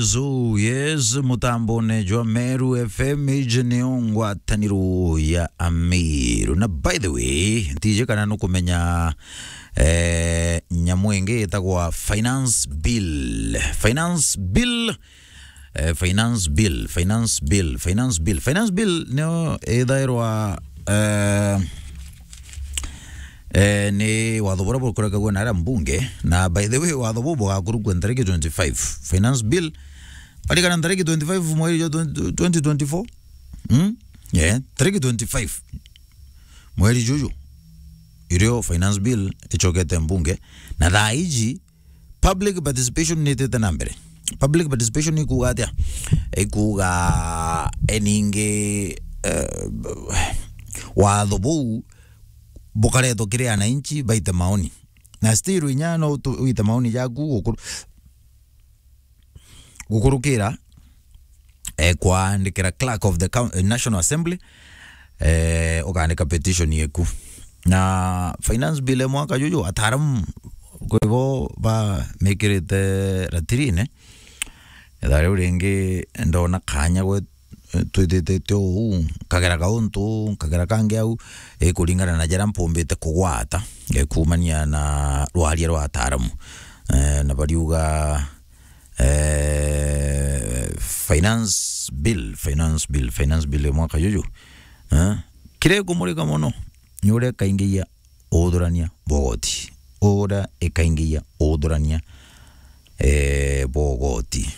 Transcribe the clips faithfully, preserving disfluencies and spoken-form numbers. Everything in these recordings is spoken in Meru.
Yes, yes, mutambone jwa Meru F M, iji nio ngwataniro ya Ameru. Na by the way, ntiji kana nukumenya, eh, nyamu ingi itagwa finance bill. Finance bill, eh, finance bill, finance bill, finance bill. Finance bill nio ithairwa, eh, eh, ni watho buria bukurekagua na aria mbunge. Na by the way, watho buu bugakurukua ntariki twenty-five. Finance bill, arikana ntariki twenty-five mweri jwa twenty, twenty twenty-four. Hmm? Yeah, tariki twenty-five mweri juju, irio finance bill icokete mbunge. Na thaa iji, public participation nitite na mbere. Public participation ikuuga atia? Ikuuga eningi, eh, watho buu bukaretwo kiri ananchi baite maoni. Na still inya no tu-, uite maoni jaku gukuru-, gukurukira, eh, kwaandikira clerk of the coun-, eh, National Assembly, eh, ukaandika petition yeku. Na finance bill ya mwaka juju, ataaramu kwibo bamikirite ratirine. Ithaa riu ringi ndona kanya gwe, eh, twithitite uu, nkagera kauntu, nkagera kangi au, eh, kuringana na jaria mpumbite kugwata, eh, kuumania na rwaria rwa ataaramu. Eh, na bariuga, eh, finance bill, finance bill, finance bill ya mwaka juju, eh, kiria gikumurika mono ni uria ikaingiia uthurania bwa ugoti. Uria ikaingiia uthurania, eh, bwa ugoti.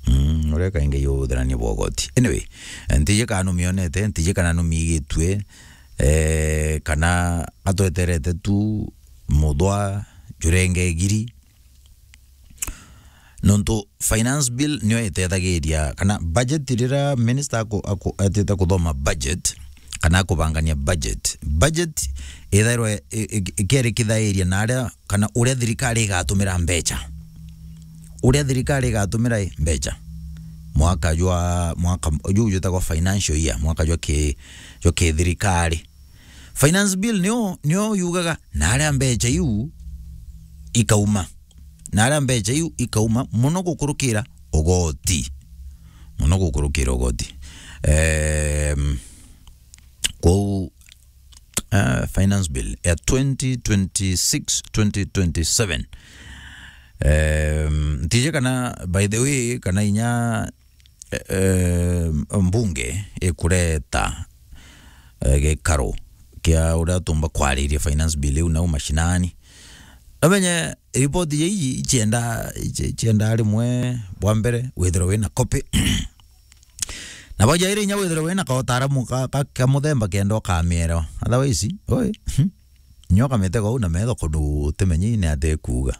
Mm, uria ikaingiia uthurania bwa ugoti. Anyway, ntiji kana numionete, ntiji kana numiigitue, eh, kana atweterete tu muthwa jurenge giri. Nontu finance bill niyo itethagiria, kana budget, riria minister aku-, aku-, atite kuthoma budget, kana akubangania budget. Budget ithairwa i-, i-, ikerikithairia na aria, kana uria thirikari igatumira mbecha. Uria thirikari igatumira i, mbecha. Mwaka jwa, mwaka, juu jwitagwa financial year, mwaka jwa ki-, jwa kithirikari. Finance bill nio, nio yugaga na aria mbecha iu ikauma. Na aria mbecha iu ikauma mono gukurukira ugoti. Mono gukurukira ugoti. Em, kwou, eh, finance bill ya twenty twenty-six, twenty twenty-seven. Em, ntiji kana, by the way, kana inya eh, mbunge ikureta, eh, gikaro kia uria tumba kwariria finance bill iu nau mashinani. Namenye ripoti ya iji ichienda, ichi-, ichienda rimwe bwa mbere withirwe wina copy. Na bwa jairi inya withirwe wina kautaaramu ka, ka, ka muthemba kenda ukamielewa. Otherwise, oi, nyo kamitega uu na metho kundu utimenyi ni atia ikuuga.